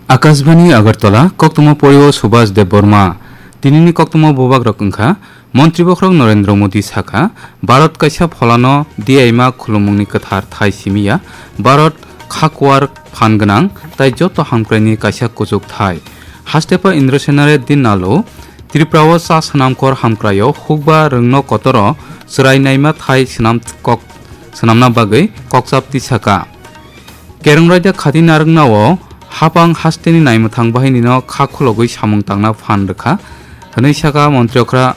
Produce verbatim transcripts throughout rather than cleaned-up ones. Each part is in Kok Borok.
Akashbani Agartala, koktwma porio Subhas Debbarma. Tinini koktwma bubagrok wngkha, Montri Bokhorok Narendra Modi sakha, Bharat kaisa pholano diyaima khulumungni kwthar thai simiya, Bharat khakuar phan gwnang tai joto hamkraini kaisa kuchuk thai. Hastepa Indra Senare din nalo, Tripurao cha swnamkhor hamkraio hukba rwngno kotoro chwrai naima thai swnam kok-, swnamna bagwi kokchap tisaka. Kereng raida khati narwknao hapang hasteni naimwthang bahinino kha khulogwi samung tangna phan rwkha, hwnwi saka Montri Okra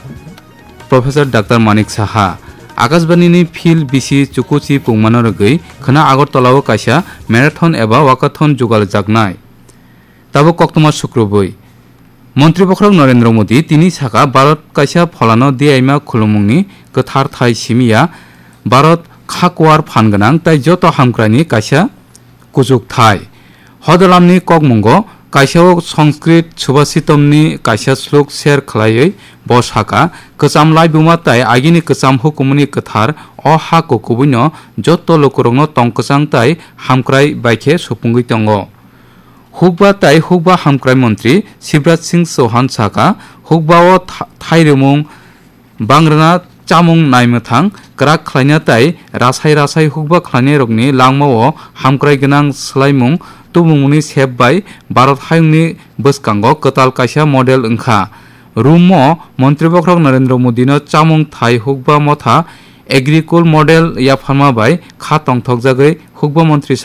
Professor Doctor Manik Saha. Akashbanini Phil bisi chukuchi pungmano rwgwi khwna Agartalao kaisa marathon eba walkathon jugaljaknai. Tabuk koktwma sukrubwi. Montri Bokhorok Narendra Modi tini saka Bharat kaisa pholano diyaima khulumungni kwthar thai simiya, Bharat khakuar phan gwnang tai joto hamkraini kaisa kuchuk thai. Hodalamni kokmungo kaisa o Sanskrit Subhashitamni kaisa slok share khlaiwi bo saka, kwcham laibuma tai agini kwcham hukumuni kwthar o ha kukubuino joto lukurokno tong kwchang tai hamkrai bai khe supungwi tongo. Hukba tai hukba hamkrai montri Shivraj Singh Chauhan saka, hukba o tha-, thairwmung bangrwna chamung naimwthang kwrak khlaina tai rasai rasai hukba khlainairokni langmao hamkrai gwnang swlaimung tubumungni sep bai Bharat hayungni bwskango kwtal kaisa model wngkha. Rumo Montri Bokhorok Narendra Modino chamung thai hukba motha Agricole model yapharma bai kha tongthokjagwi hukba montri